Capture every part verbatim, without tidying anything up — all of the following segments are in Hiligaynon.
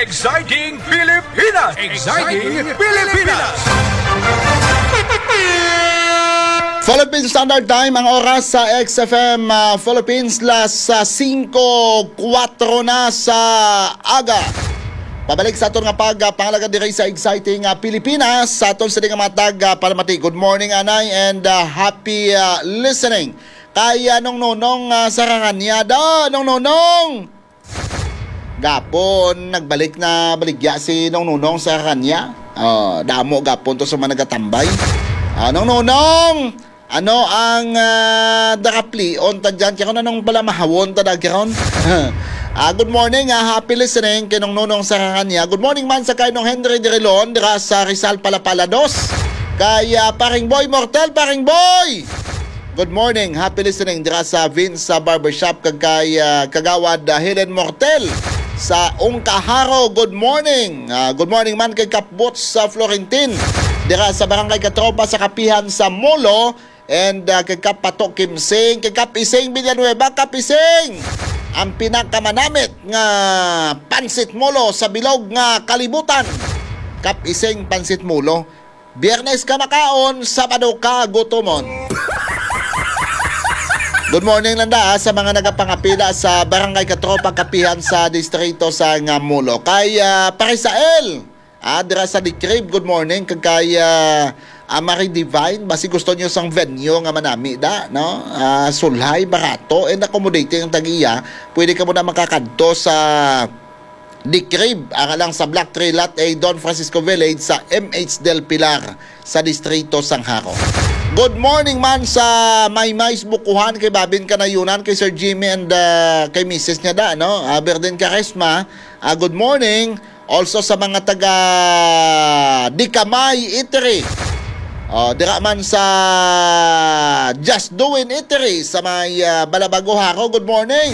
Exciting Pilipinas! Exciting Pilipinas! Philippine Standard Time, ang oras sa X F M, ah, Philippines, las, ah, singko kuwatro na sa aga. Pabalik sa aton nga pag, ah, pangalaga diri sa Exciting, ah, Pilipinas. Sa aton sini nga mga tag, ah, palamati. Good morning, anay, and, ah, happy, ah, listening. Kay, ah, Nong Nonong, ah, sa Raranya, da, Nong Nonong! Gapon, nagbalik na baligya si Nong Nunong sa kanya. Oh, damo gapon to sa mga nagatambay. Ah, Nong Nunong, ano ang, ah, dakaplion ta dyan? Kaya kung anong pala mahawon ta dagi ron? Ah, good morning, ah, happy listening kay Nong Nunong sa kanya. Good morning man sa kay Nong Henry Dirilon, dira sa Rizal Palapala dos. Kay, ah, Paring Boy Mortel, Paring Boy! Good morning. Happy listening dira sa Vince sa Barbershop kag kay, ah, Kagawad, ah, Helen Mortel sa Ungkaharo. Good morning. Ah, good morning man kay Kap Boots sa Florentin dira sa Barangay Katropa sa Kapihan sa Molo. And, ah, kay Kap Pato Kimsing, kay Kap Ising Villanueva, Kap Ising, ang pinakamanamit nga pansit molo sa bilog nga kalibutan. Kap Ising Pansit Molo. Biyernes ka makaon, Sabado ka gutomon. Good morning lang da, ah, sa mga nagapangapila sa Barangay Katropa Kapihan sa distrito sa nga Molo. Kay, ah, Parisael, ah, dira sa Dikrib, good morning. Kag kay, ah, ah, Marie Divine, basi gusto niyo sang venue nga manami da, no? Ah, sulhay, barato, and accommodating ang tag-iya. Pwede ka mo na makakadto sa Dikrib, ara lang sa Block three, Lot A, Don Francisco Village, sa M H Del Pilar, sa Distrito sang Jaro. Good morning man sa Maymay sa Bukuhan, kay Babin Kanayunan, kay Sir Jimmy, and, ah, kay Missus niya da, no? Ah, Berden Caresma, ah, good morning. Also sa mga taga Dikamay Eatery. Oh, dira man sa Just Doing Eatery sa may, ah, Balabago, Jaro. Good morning.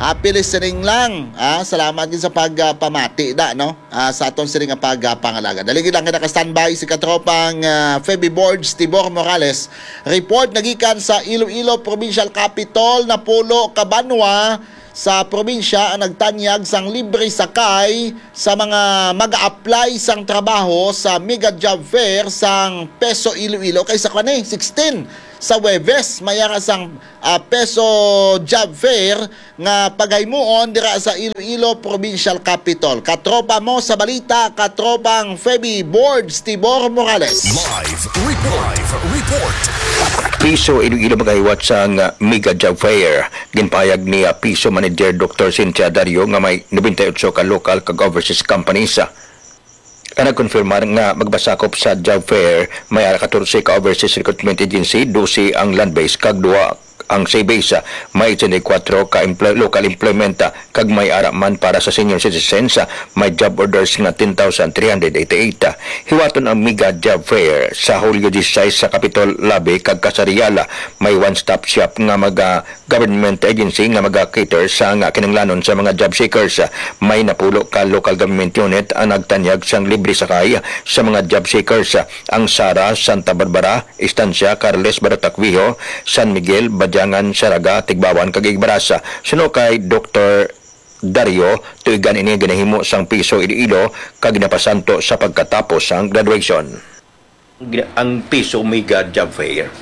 Happy listening lang. Ah, salamat gid sa pag, ah, pamati da, no? Ah, sa aton sini nga pag, ah, pangalaga. Dali gid lang kay naka-standby si katropang, ah, Feby Boards Tibor Morales. Report nagikan sa Iloilo Provincial Capitol, napulo ka banwa sa probinsya ang nagtanyag sang libre sakay sa mga mag-a-apply sang trabaho sa Mega Job Fair sang PESO Iloilo. Kay sa kani, sixteen sa Huwebes, may ara sang, ah, PESO Job Fair nga pagaymuon dira sa Iloilo Provincial Capitol. Katropa mo sa balita, katropang Feby Boards Tibor Morales. Live report. Live report. PESO Iloilo magahiwat sang Mega Job Fair. Ginpahayag ni, ah, PESO Manager Doktor Cynthia Dario nga may nobenta y otso ka local kag overseas companies, ah, ang nagkonfirmar nga magpasakop sa job fair. May ara katorse ka overseas recruitment agency, dose ang land-based kag duha ang sea-based. May eighty-four ka employ-, local employment, ah, kag may ara man para sa senior citizens, ah, may job orders nga ten thousand three hundred eighty-eight. Hiwaton ang Mega Job Fair sa Hulyo disisais sa Capitol Lobby kag Kasarial. May one-stop shop nga maga-, government agency nga maga-cater sa nga kinahanglanon sa mga job seekers. May napulo ka local government unit ang nagtanyag sang libre sakay sa mga job seekers. Ang Sara, Santa Barbara, Estancia, Carles, Barotac Viejo, San Miguel, Badiangan, Saraga, Tigbawan, kag Igbaras. Suno kay Doktor Dario, tuigan ini ginahimo sang PESO Iloilo kag ginapasanto sa pagkatapos sang graduation. Ang PESO Mega Job Fair.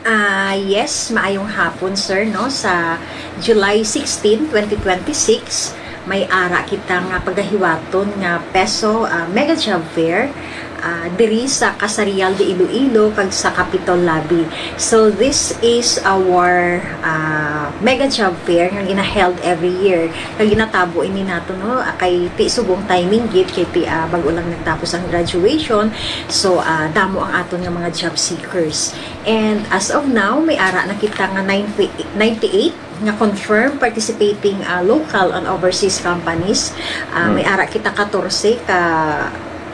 Ah, yes, maayong hapon, sir, no? Sa July sixteen, twenty twenty-six, may ara kita nga pagahiwaton nga PESO, ah, Mega Job Fair, ah, diri sa Kasarial de Iloilo kag sa Capitol Lobby. So, this is our, ah, Mega Job Fair nga gina-held every year. Kag ginatabo ini nato, no, kay ti subong timing gid, kay ti, ah, bag-o lang nagtapos ang graduation. So, ah, damo ang aton nga mga job seekers. And as of now, may ara na kita nga ninety, ninety-eight nga confirmed participating, ah, local and overseas companies. Ah, may ara kita katorse ka,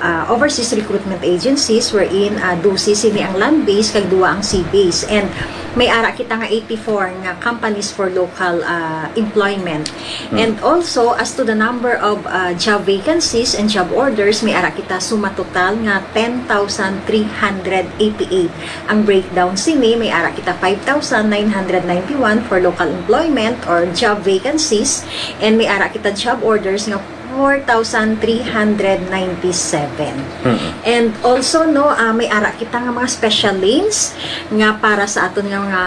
ah, overseas recruitment agencies, wherein, ah, dose sini ang land-based kag duwa ang sea-based. And may ara kita nga eighty-four nga companies for local, ah, employment. Hmm. And also, as to the number of, ah, job vacancies and job orders, may ara kita suma total nga ten thousand three hundred eighty-eight. Ang breakdown sini, may ara kita five thousand nine hundred ninety-one for local employment or job vacancies, and may ara kita job orders nga four thousand three hundred ninety-seven. Mm. And also, no, ah, may ara kita nga mga special lanes nga para sa aton nga mga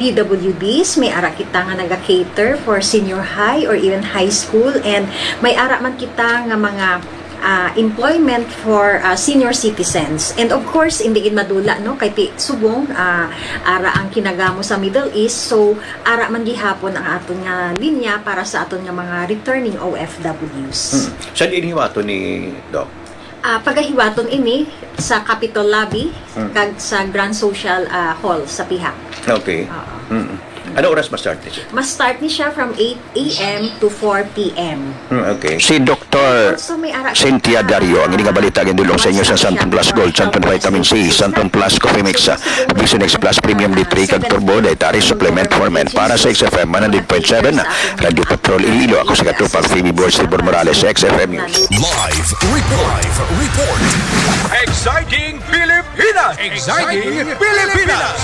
P W Ds, may ara kita nga naga-cater for senior high or even high school, and may ara man kita nga mga, ah, employment for, ah, senior citizens. And of course, hindi gid madula, no, kay ti subong, ah, ara ang kinagamo sa Middle East, so ara man gihapon ang aton nga linya para sa aton nga mga returning O F Ws. Hmm. Saan ginhiwaton ni Doc? Ah, pagahiwaton ini sa Capitol Lobby Hmm. kag sa Grand Social, ah, Hall sa Piha. Okay. Oo. Mm. Ano oras ma-start ni siya? Ma-start ni siya from eight a m to four p m. Hmm, okay. Si Doctor Also, may ara Cynthia kita, Dario, ang ining balita ginadulong sa inyo sa Santon Plus Gold, Santon Vitamin C, Santon Plus Coffee Mix, ah, Vision X Plus Premium D three, kag Turbo Dietary Supplement for Men. Para sa X F M one hundred point seven, Radyo Patrol Iloilo, ako si Katropang Phoebe Boy Silver Morales, X F M News. Live report. Live report. Exciting Pilipinas! Exciting Pilipinas!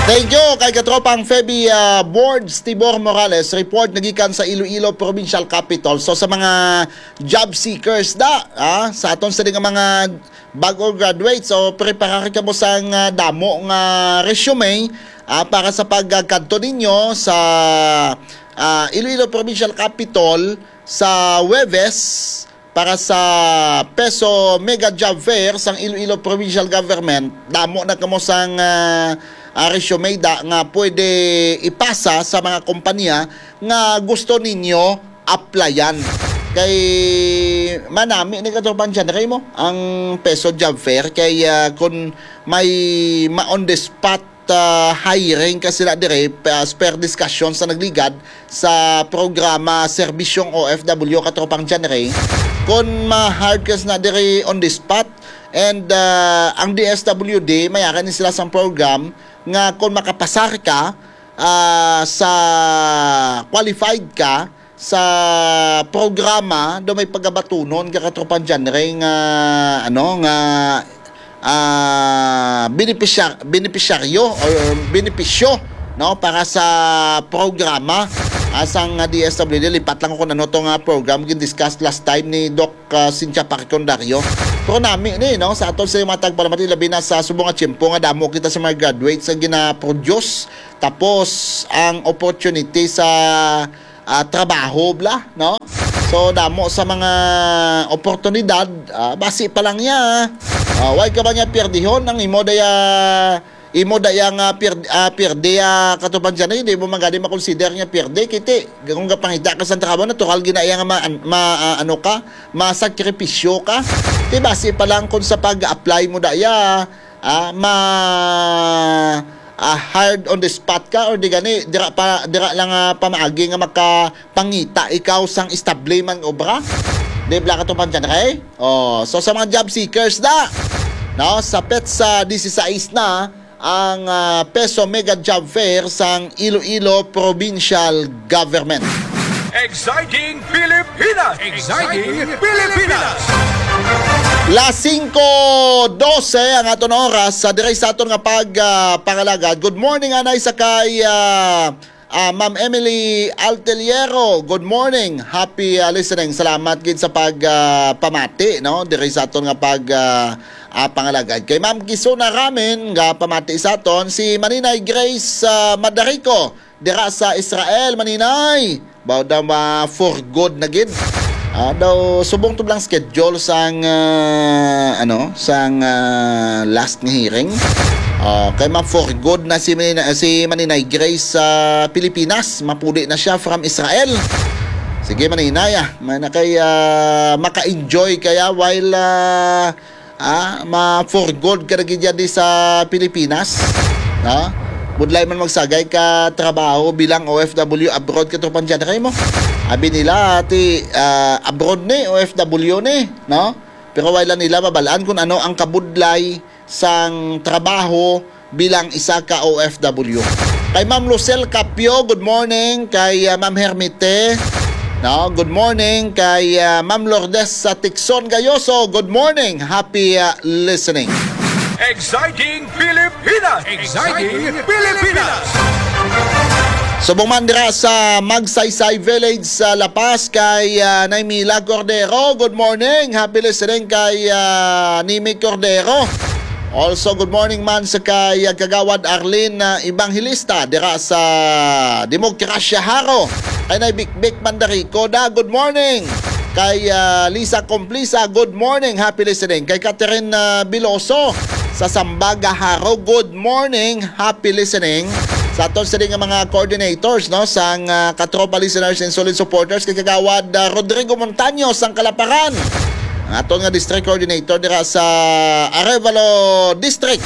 Thank you kay Katropang Feby, ah, Bords Tibor Morales. Report nagikan sa Iloilo Provincial Capitol. So, sa mga job seekers da, ah, sa aton sa nga mga bag-o graduate, so preparar kamo sang, ah, damo nga resume, ah, para sa pagkadto ninyo sa, ah, Iloilo Provincial Capitol sa Huwebes para sa PESO Mega Job Fair sang Iloilo Provincial Government. Damo na kamo sang, ah, ah, resume da nga pwede ipasa sa mga kompanya nga gusto ninyo applyan. Kay manami ni Katropang John Ray mo ang PESO Job Fair kay, ah, kung may ma-on the spot, ah, hiring ka sila dire, pa-, as per discussion sa nagligad sa programa Serbisyong O F W, Katropang John Ray, kung ma-hire ka sila dire on the spot, and, ah, ang D S W D, may ara ni sila sang program nga kung makapasar ka, ah, sa qualified ka sa programa, do may pagabatunon ka, Katropang John Ray, nga, ano, nga, ah, benepisyar-, benepisyaryo or benepisyo, no, para sa programa, ah, sang D S W D. Lipat lang ko kung ano to nga program gin-discuss last time ni Doc, ah, Cynthia Parcondario. Pero nami ni, no, sa aton sa mga tagpalamati, labi na sa subong nga tiyempo nga damo kita sa mga graduates nga gina-produce. Tapos, ang opportunity sa, ah, trabaho, bla, no? So, damo sa mga oportunidad, ah, basi pa lang niya. Ah, why ka ba niya pierdihon? Ang imo daya, imo daya nga pier-, ah, pierde, ah, Katropang John Ray, hindi mo man gani makonsider nga pierde. Kiti, kung kapangita ka sa trabaho, natural gina iya nga ma-, ma-, ah, ano ka, masakripisyo ka. Di basi pa lang kung sa pag-apply mo daya, ah, ma-, ah, hired on the spot ka, or di gani, dira pa, dira lang, ah, pamaagi nga makapangita ikaw sang estable man obra? Di bala, Katropang John Ray? Oh, so sa mga job seekers na, no, sa PETSA dieciséis na ang, ah, PESO Mega Job Fair sang Iloilo Provincial Government. Exciting Pilipinas! Exciting Pilipinas! Las singko dose ang aton oras sa diri sa aton nga pag, ah, pangalagad. Good morning, anay sa kay, ah, ah, Ma'am Emily Alteliero. Good morning. Happy, ah, listening. Salamat gid sa pag, ah, pamati, no? Diri sa aton nga pag, ah, ah, pangalagad. Kay Ma'am Kisuna Ramin nga pamati sa aton, si Maninay Grace, ah, Madarico. Dira sa Israel, Maninay. Baw daw ma for good na gid. Ah, daw subong to lang schedule sang, ah, ano, sang, ah, last nga hearing. Ah, kay ma for good na si Maninay, si Maninay Grace sa Pilipinas. Mapuli na siya from Israel. Sige, Maninay, ah. May na kay, ah, maka-enjoy kaya while, ah, Ah, ma for good ka na gid yan di sa Pilipinas. No? Budlay man magsagay ka trabaho bilang O F W abroad, Katropang John Ray mo. Abi nila, ti, ah, abroad ni, O F W ni, no? pero wala nila mabalaan kung ano ang kabudlay sang trabaho bilang isa ka O F W. Kay Ma'am Lucel Capio, good morning. Kay, ah, Ma'am Hermite, no, good morning. Kay, ah, Ma'am Lourdes sa Tixon Gayoso, good morning. Happy, ah, listening. Exciting Pilipinas! Exciting Pilipinas! Subong man dira sa Magsaysay Village sa La Paz kay, ah, Naymila Cordero. Good morning. Happy listening kay, ah, Nimi Cordero. Also, good morning man sa kay, ah, Kagawad Arlene, ah, Evangelista dira sa Demokrasya Jaro. Kay Nay Bikbik Mandarico da, good morning. Kay, ah, Lisa Complisa, good morning. Happy listening. Kay Catherine, ah, Biloso sa Sambaga Jaro, good morning. Happy listening. Sa aton sini nga mga coordinators, no, sang, ah, Katropa listeners and solid supporters, kay Kagawad, ah, Rodrigo Montaño sang Kalaparan, ang aton nga district coordinator dira sa Arevalo District.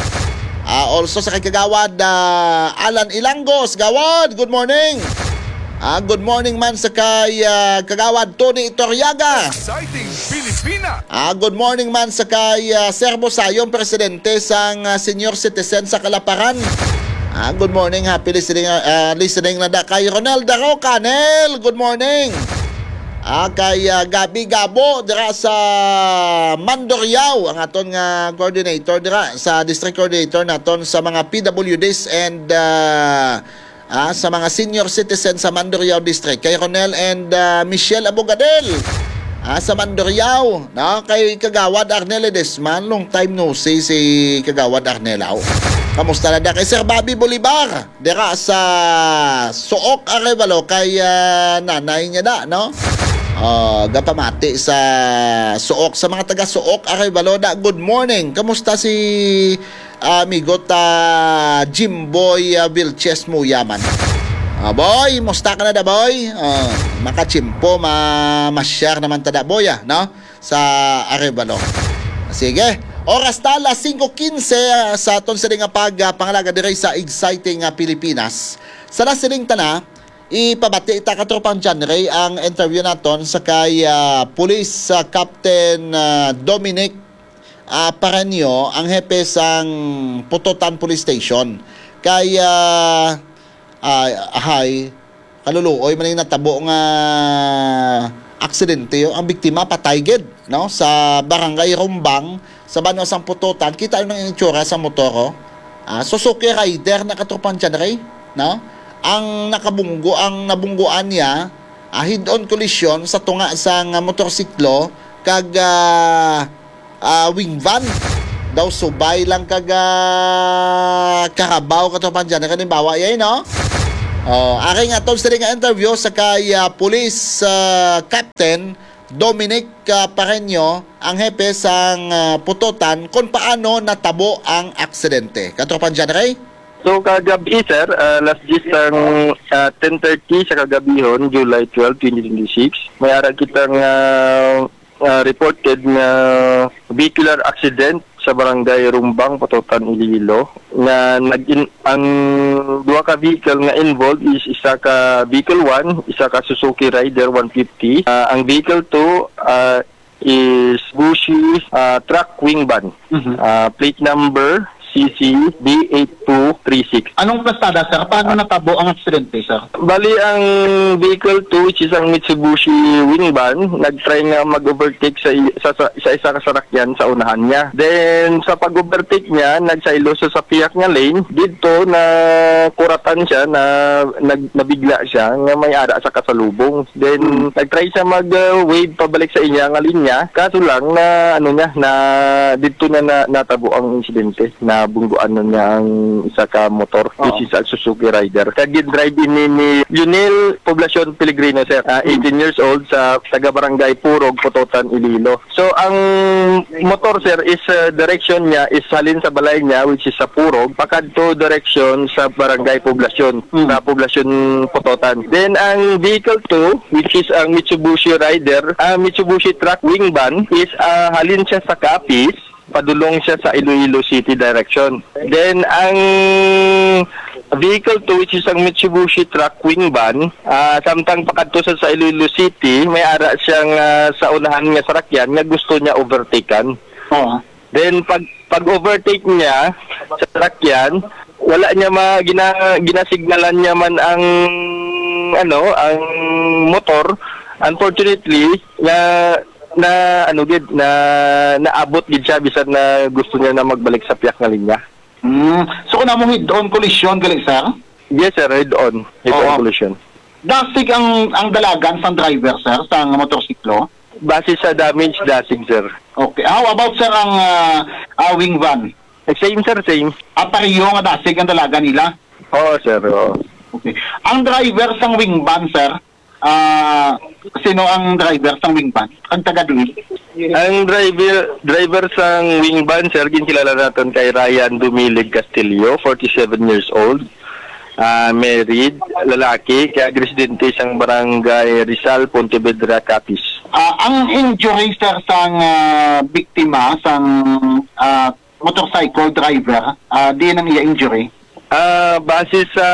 Ah, also sa kay Kagawad, ah, Alan Ilangos. Gawad, good morning. Ah, good morning man sa kay, ah, Kagawad Tony Itoriaga. Exciting Pilipinas! Ah, good morning man sa kay, ah, Serbo Sayong, presidente sang, ah, senior citizen sa Kalaparan. Ah, good morning, happy listening, ah, listening na da kay Ronel Daroca. Nel, good morning. Ah, kay, ah, Gabi Gabo dira sa Mandurriao, ang aton nga coordinator dira sa district coordinator naton sa mga P W Ds and, ah, ah, sa mga senior citizen sa Mandurriao District. Kay Ronel and, ah, Michelle Abogadel, ah, sa Mandurriao, no? Kay Kagawad Arnel Ledesma, long time no see si Kagawad Arnel, aw. Kamusta na da? Kay Sir Bobby Bolivar, dira sa Suok, Arevalo, kay, ah, nanay niya da, no? Ah, gapamati sa Suok, sa mga taga Suok, Arevalo da. Good morning. Kamusta si, ah, amigo ta Jimboy, ah, Vilches Muyaman? Ah, boy, musta ka na da, boy? Ah, makachimpo, ma ma-share naman ta da, boy, ah, no? Sa Arevalo. Sige, oras ta alas singko quince, ah, sa aton sini nga pag, ah, pangalaga diri sa exciting, ah, Pilipinas. Sa nasiling tana, ipabati ta, Katropang John Ray, ang interview naton sa kay, ah, Police, ah, Captain, ah, Dominic, ah, Pareño, ang hepe sang Pototan Police Station. Kay, ah, ah, hay, kaluluoy man yung natabo nga aksidente, oh. Ang biktima patay gid, no, sa Barangay Rumbang, sa banwa sang Pototan. Kita nyo ang itsura sa motor, oh. Ah, Suzuki Rider na, Katropang John Ray, no? Ang nakabunggo, ang nabungguan niya, ah, head-on collision sa tunga sang, ah, motorsiklo kag, ah, ah, wing van. Daw subay lang kag, ah, karabaw, Katropang John Ray, kalimbawa yay, no? Oh, ari nga aton sini nga interview sa kay, ah, Police, ah, Captain Dominic, ah, Pareño, ang hepe sang, ah, Pototan, kung paano natabo ang aksidente. Katropang John Ray? So, kagabi, sir, ah, alas diyes sang, ah, ten thirty sa kagabihon, July twelve, twenty twenty-six, may ara kitang, ah, ah, reported nga vehicular accident sa Barangay Rumbang, Pototan, Iloilo, nga nag-in-, ang duha ka vehicle nga involved is isa ka vehicle one, isa ka Suzuki Rider one fifty. Ah, ang vehicle two, ah, is Bushi, ah, truck wing van. Mhm. Ah, plate number C C B eight two three six. Anong plastada, sir? Paano natabo ang aksidente, sir? Bali, ang vehicle two, which is ang Mitsubishi wing van, nag-try nga mag-overtake sa i-, sa, sa, sa isa ka sarakyan sa unahan niya. Then, sa pag-overtake niya, nagsaylo siya sa piyak nga lane. Didto, nakuratan siya, na, nag-, nabigla siya nga may ara sa kasalubong. Then, Hmm. nag-try siya mag, uh, wave pabalik sa iya nga linya. Kaso lang na, ano niya, na didto na, na natabo ang insidente. Nabungguan na niya ang isa ka motor, Oo. which is a Suzuki Rider. Kag gin-drive ini ni Lionel Poblacion Pelegrino, sir. Ah, Hmm. eighteen years old, sa taga Barangay Purog, Pototan, Iloilo. So, ang motor, sir, is, uh, direction niya is halin sa balay niya, which is sa Purog, pakadto direction sa Barangay Poblacion, Mm. sa Poblacion Pototan. Then, ang vehicle two, which is ang Mitsubishi Rider, ang Mitsubishi truck wing van, is, uh, halin siya sa Capiz, Padulong siya sa Iloilo City direction. Then, ang vehicle two, which is ang Mitsubishi truck wing van, ah, samtang pakadto sa, sa Iloilo City, may ara siyang, ah, sa unahan nga sarakyan nga gusto niya overtaken. Oo. Then, pag, pag-overtake niya sa sarakyan, wala niya ma-, gina-, ginasignalan niya man ang, ano, ang motor. Unfortunately, na, na, ano gid, na naabot gid siya bisan na gusto niya na magbalik sa piyak nga linya. Mm. So, kung amo head-on collision gali, sir? Yes, sir, head-on. Head-on Oo. collision. Dasig ang, ang dalagan sang driver, sir, sang motorsiklo? Base sa damage, dasig, sir. Okay. How about, sir, ang, ah, ah, wing van? Eh, same, sir, same. Ah, pareho nga dasig ang dalagan nila? Oo, sir, oo. Okay. Ang driver sang wing van, sir, ah, sino ang driver sang wing van? Ang taga diin? Ang driver, driver sang wing van, sir, ginkilala naton kay Ryan Dumilig Castillo, forty-seven years old. Ah, married, lalaki, kag residente sang Barangay Rizal, Pontevedra, Capiz. Ah, ang injury, sir, sang, ah, biktima, sang, ah, motorcycle driver, ah, diin ang iya injury? Ah, base sa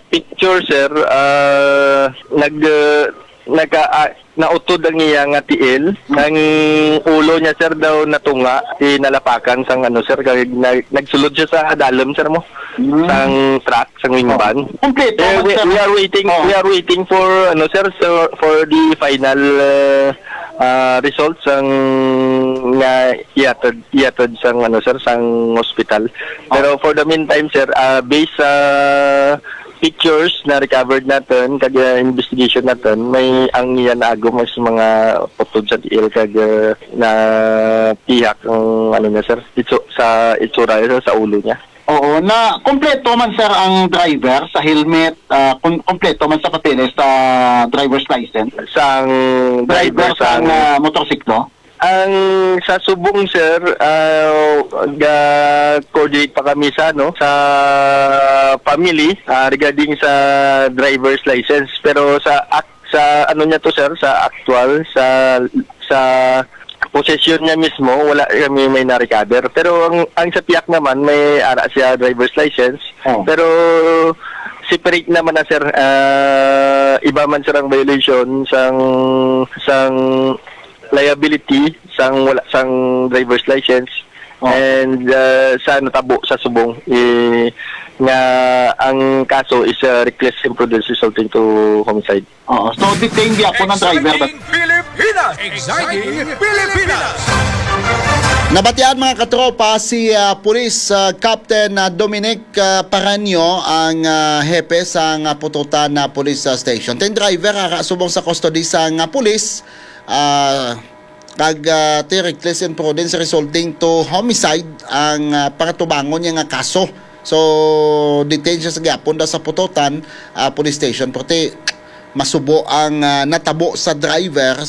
picture, sir, ah, nag, ah, nagka-, ah, nautod ang iya nga tiil. Hmm. Ang ulo niya, sir, daw natunga, tinalapakan sang, ano, sir, kag nag-, nagsulod siya sa dalom, sir, mo, Hmm. sang truck, sang wing Oh. van. Kompleto Eh, man, we, sir. we are waiting, Oh. we are waiting for, ano, sir, so, for the final, uh, uh, results sang nga ihatod, ihatod sang, ano, sir, sang hospital. Oh. Pero for the meantime, sir, uh, based sa pictures na recovered naton kag, uh, investigation naton, may ang iya naago mas mga utod sa tiil kag, uh, napihak ang, ano niya, sir, itsu-, sa itsura niya, sir, sa ulo niya. Oo, na kompleto man, sir, ang driver sa helmet, ah, kun-, kompleto man sa papeles sa driver's license. Sang Driver driver sang, sang ah, motorsiklo? Ang sa subong, sir, ah, ga-coordinate pa kami sa, ano, sa family, ah, regarding sa driver's license. Pero sa ak-, sa ano niya to, sir, sa actual, sa, sa possession niya mismo, wala kami may na-recover. Pero ang, ang sa piyak naman, may ara siya driver's license. Oh. Pero separate naman na, sir. Ah, iba man, sir, ang violation sang, sang liability sang wala sang driver's license. Oh. And, ah, sa natabo sa subong, eh, nga ang kaso is, ah, reckless imprudence resulting to homicide. Oo. So, detained gyapon ang driver. Exciting Pilipinas! Exciting Pilipinas! Nabatian, mga katropa, si, ah, Police, ah, Captain, ah, Dominic, ah, Paranyo, ang, ah, hepe sang, ah, Pututan na Police, ah, Station. Ten driver, ah, subong sa custody sang, ah, pulis, ah, kag, ah, ti reckless imprudence resulting to homicide ang, ah, pangatubangon niya nga kaso. So, detain siya sa gyapon da sa Pututan, ah, Police Station. Pero ti masubo ang, ah, natabo sa driver